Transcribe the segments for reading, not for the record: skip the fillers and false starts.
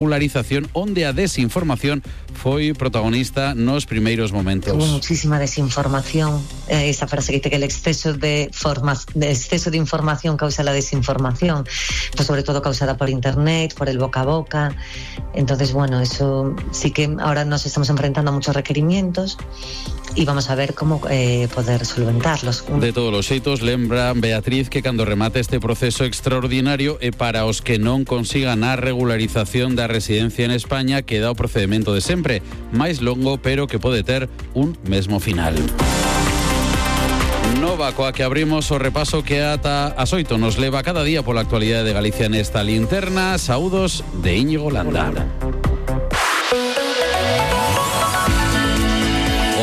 regularización onde a desinformación foi protagonista nos primeiros momentos. Hubo muchísima desinformación, esa frase que dice que el exceso de información causa la desinformación, pues sobre todo causada por internet, por el boca a boca. Entonces, bueno, eso sí que ahora nos estamos enfrentando a muchos requerimientos y vamos a ver cómo poder solventarlos. De todos os xeitos, lembra Beatriz que cando remate este proceso extraordinario e para os que non consigan a regularización da residencia en España queda o procedimento de sempre, máis longo pero que pode ter un mesmo final. Nova coa que abrimos o repaso que ata as 8 nos leva cada día pola actualidade de Galicia nesta linterna. Saúdos de Íñigo Landa.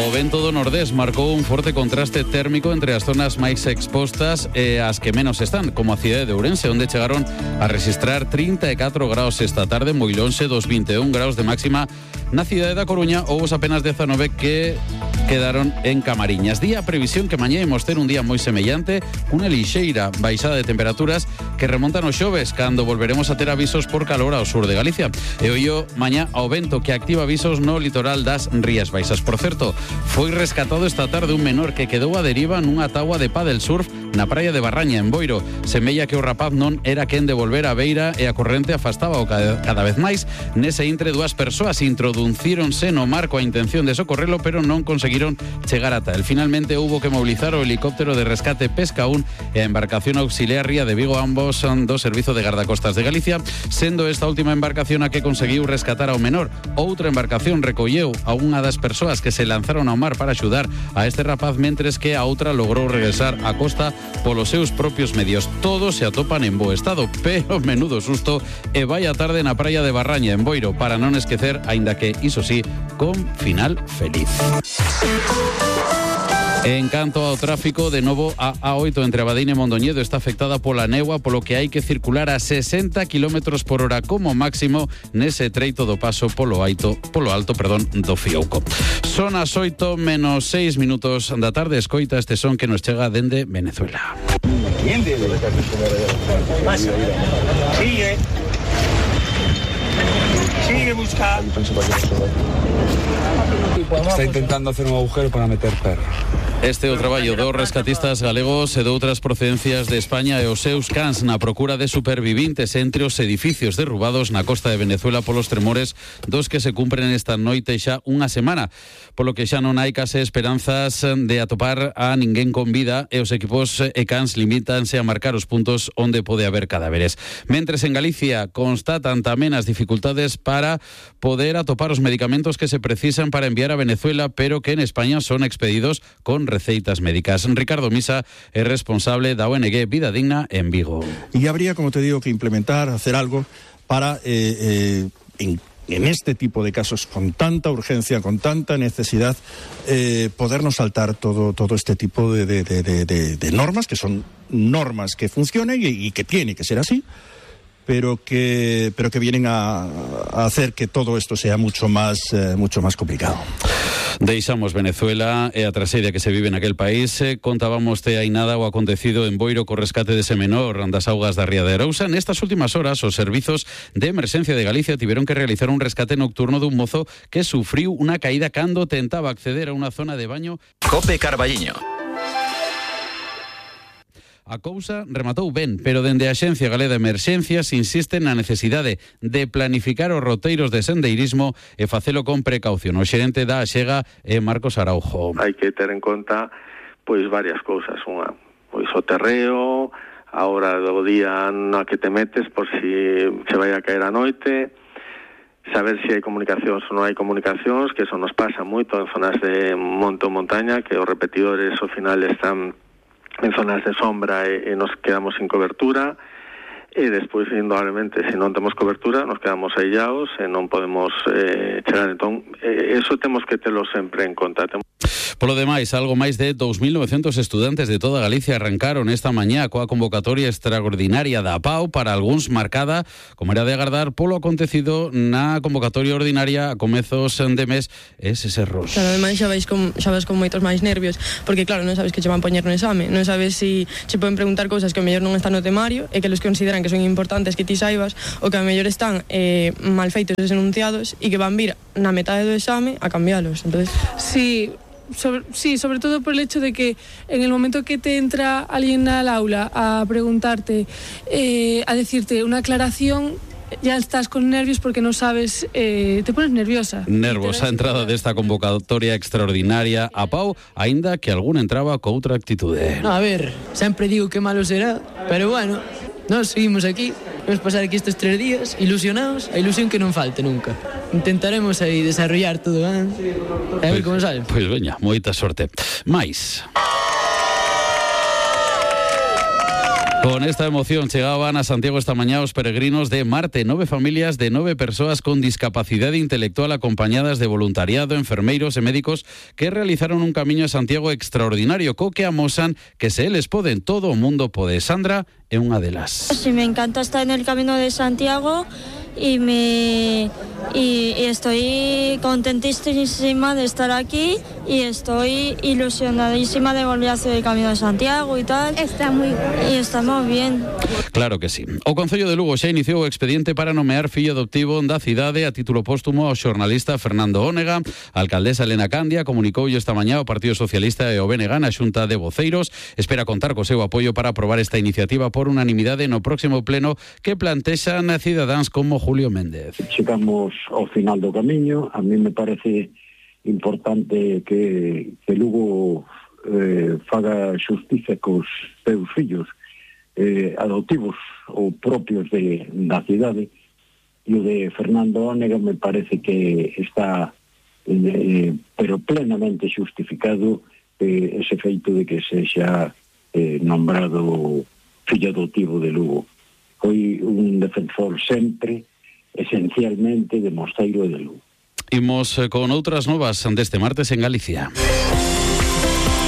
O vento do nordés marcou un forte contraste térmico entre as zonas máis expostas e as que menos están, como a cidade de Ourense, onde chegaron a registrar 34 graus esta tarde, moi lonxe dos 21 graus de máxima na cidade da Coruña, ou os apenas 19 que quedaron en Camariñas. Día previsión que mañá imos ter un día moi semellante, unha lixeira baixada de temperaturas que remontan os xoves, cando volveremos a ter avisos por calor ao sur de Galicia. E ollo mañá ao vento que activa avisos no litoral das Rías Baixas. Por certo, foi rescatado esta tarde un menor que quedou a deriva nunha táboa de pádel surf na praia de Barraña, en Boiro. Semella que o rapaz non era quen de volver á beira e a corrente afastaba cada vez máis. Nese intre, dúas persoas introducíronse no mar coa intención de socorrelo, pero non conseguiron chegar ata el. Finalmente, houbo que mobilizar o helicóptero de rescate Pesca 1 e a embarcación auxiliar Ría de Vigo, ambos son do Servizo de Gardacostas de Galicia, sendo esta última embarcación a que conseguiu rescatar ao menor. Outra embarcación recolleu a unha das persoas que se lanzaron ao mar para axudar a este rapaz, mentres que a outra logrou regresar á costa polos seus propios medios. Todos se atopan en bo estado, pero menudo susto e vai a tarde na praia de Barraña, en Boiro, para non esquecer, aínda que, iso sí, con final feliz. En canto ao tráfico, de novo a A8 entre Abadín e Mondoñedo está afectada pola néboa, polo que hai que circular a 60 km por hora como máximo nese treito do paso polo alto do Fiouco. Son as 8 menos 6 minutos da tarde. Escoita este son que nos chega dende Venezuela. ¿Quién debe? Pasa. Sigue buscando. Está intentando hacer un agujero para meter perro. Este é o traballo dos rescatistas galegos e de outras procedencias de España e os seus cans na procura de supervivintes entre os edificios derrubados na costa de Venezuela polos tremores dos que se cumpren esta noite xa unha semana, polo que xa non hai case esperanzas de atopar a ninguén con vida e os equipos e cans limítanse a marcar os puntos onde pode haber cadáveres. Mentres en Galicia constatan tamén as dificultades para poder atopar os medicamentos que se precisan para enviar a Venezuela, pero que en España son expedidos con receitas médicas. Ricardo Misa es responsable da ONG Vida Digna en Vigo. Y habría, como te digo, que implementar, hacer algo para en este tipo de casos con tanta urgencia, con tanta necesidad, podernos saltar todo este tipo de normas, que son normas que funcionen y que tiene que ser así, pero que vienen a hacer que todo esto sea mucho más complicado. Deixamos Venezuela e a traxedia que se vive naquel país. Contábamos hai nada o acontecido en Boiro co rescate dese menor das augas da Ría de Arousa. Nestas últimas horas, os servizos de emerxencia de Galicia tiveron que realizar un rescate nocturno dun mozo que sufriu unha caída cando tentaba acceder a unha zona de baño. Cope Carballiño. A cousa rematou ben, pero dende a Axencia Galega de Emerxencias insisten na necesidade de planificar os roteiros de sendeirismo e facelo con precaución. O xerente da Axega é Marcos Araujo. Hai que ter en conta pois varias cousas, unha, pois o terreo, a hora do día na que te metes por si se vai a caer a noite, saber se hai comunicacións ou non hai comunicacións, que eso nos pasa moito en zonas de monte ou montaña, que os repetidores ao final están en zonas de sombra e nos quedamos sin cobertura, e despois, indudablemente, se non temos cobertura, nos quedamos aillados e non podemos chegar. Entón, eso temos que telo sempre en conta. Polo demais, algo máis de 2.900 estudantes de toda Galicia arrancaron esta mañá coa convocatoria extraordinaria da APAU, para algúns marcada, como era de agardar, polo acontecido na convocatoria ordinaria a comezos de mes eses erros. Claro, ademais xa vas con moitos máis nervios, porque claro, non sabes que che van poñer no exame, non sabes si che poden preguntar cousas que ao mellor non están no temario e que los consideran que son importantes que ti saibas, ou que ao mellor están mal feitos os enunciados e que van vir na metade do exame a cambialos. Entonces, sí, sobre todo por el hecho de que en el momento que te entra alguien al aula a preguntarte, a decirte una aclaración, ya estás con nervios porque no sabes, te pones nerviosa. Nervosa entrada desta convocatoria extraordinaria a Pau, aínda que algún entraba co outra actitude. No, a ver, sempre digo que malo será, pero bueno, nós seguimos aquí, vamos pasar aquí estes 3 días ilusionados, a ilusión que non falte nunca. Intentaremos aí desarrollar todo, a ver como sale. Pois veña, moita sorte. Mais... Con esta emoción chegaban a Santiago esta mañá os peregrinos de Marte, 9 familias de 9 persoas con discapacidade intelectual acompañadas de voluntariado, enfermeiros e médicos que realizaron un camiño a Santiago extraordinario co que amosan que se eles poden, todo o mundo pode. Sandra é unha delas. Sí, me encanta estar en el Camino de Santiago y estoy contentísima de estar aquí y estoy ilusionadísima de volver a hacer el Camino de Santiago y tal. Está muy bien. Y estamos bien. Claro que sí. O Concello de Lugo xa iniciou o expediente para nomear fillo adoptivo da cidade a título póstumo ao xornalista Fernando Ónega. A alcaldesa Elena Candia comunicoulle esta mañá o Partido Socialista e o BNG na Xunta de Voceiros. Espera contar co seu apoio para aprobar esta iniciativa por unanimidade no próximo pleno que plantexan cidadáns como Julio Méndez. Chegamos ao final do camiño. A mí me parece importante que Lugo faga xustiza cos seus fillos adoptivos ou propios da cidade, e o de Fernando Ónega me parece que está pero plenamente xustificado ese feito de que sexa nombrado fillo adoptivo de Lugo. Foi un defensor sempre, esencialmente, de Mosteiro e de Lugo. Imos con outras novas deste martes en Galicia.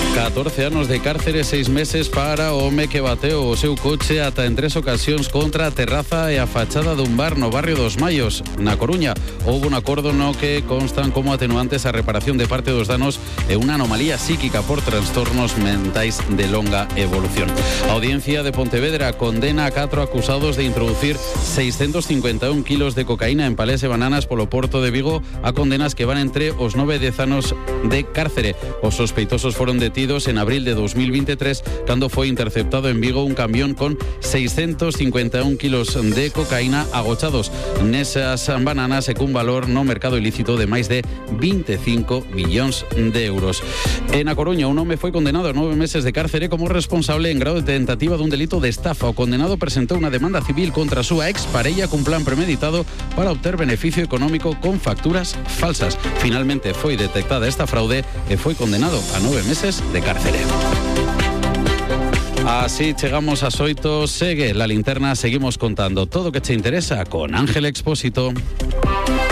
14 anos de cárcere, 6 meses para o home que bateu o seu coche ata en 3 ocasións contra a terraza e a fachada dun bar no barrio dos Maios, na Coruña. Houve un acordo no que constan como atenuantes a reparación de parte dos danos e unha anomalía psíquica por trastornos mentais de longa evolución. A Audiencia de Pontevedra condena a 4 acusados de introducir 651 kilos de cocaína en palés e bananas polo Porto de Vigo, a condenas que van entre os 9 e 10 anos de cárcere. Os sospeitosos foron detidos en abril de 2023 cando foi interceptado en Vigo un camión con 651 kilos de cocaína agochados nesas bananas e cun valor no mercado ilícito de máis de 25 millóns de euros. En A Coruña, un home foi condenado a 9 meses de cárcere como responsable en grado de tentativa dun delito de estafa. O condenado presentou unha demanda civil contra a súa exparella cun plan premeditado para obter beneficio económico con facturas falsas. Finalmente foi detectada esta fraude e foi condenado a 9 meses de cárcere. Así chegamos ás 8, segue la linterna, seguimos contando todo o que te interesa con Ángel Expósito.